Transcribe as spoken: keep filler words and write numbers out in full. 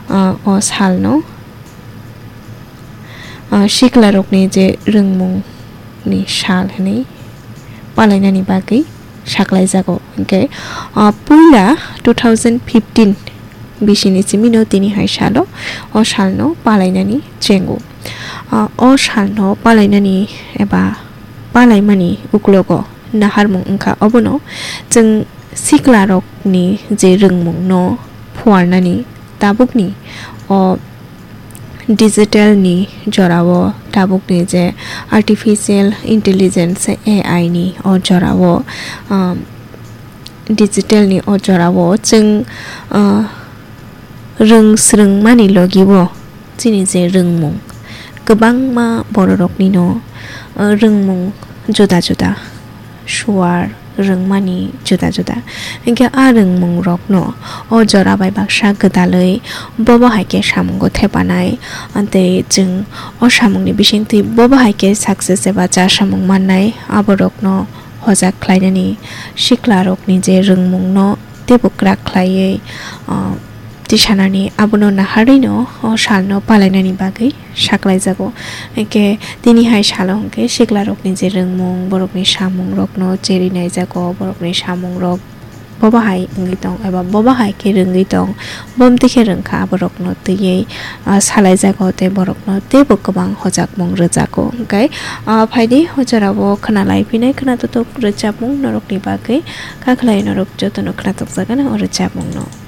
Ah, o salno, ah, siklarokni je rwngmungni sal hwnwi palainani bagwi saklaijago. Hinkhe, ah, puila two thousand fifteen bisini simino tini hai salo o salno palainani chengo. Ah, o salno palainani eba palaimani uklogo naharmung wngkha, obono chwng siklarokni je rwngmungno phuarnani tabukni o digital ni jorao, tabukni je artificial intelligence, A I ni o jorao, um, digital ni o jorao chwng, uh, rwng swrwngmani logi o chini je rwngmung, kwbangma bororoknino, uh, rwngmung juda juda, suar rwngmani juda juda. Hinkhe a rwngmungrokno o jora bai baksa gwdalwi bobo hai khe samungo thepanai, tei chwng o samungni bisingtwi bobo hai khe success eba cha samung mannai, aborokno hojak khlainani siklarokni je rwngmungno teibo kwrak khlaiwi, ah, tisanani abono naharwino o salno palainani bagwi saklaijago. Hinkhe tini hai salo hinkhe siklarokni je rwngmung, borokni samungrokno cheri naijago, borokni samungrok bobo hai wngwi tong eba bobo hai khe rwngwi tong, bomtwi khe rwngkha, aborokno twiwi, ah, salaijago tei borokno teibo kwbang hojakmung rwjago. Hinkhe, ah, phaidi o jorao khwnalai phinai khwnatotok rwchapmung norokni bagwi, kha khlai norok jotono khwnatokjakgano o rwchapmungno.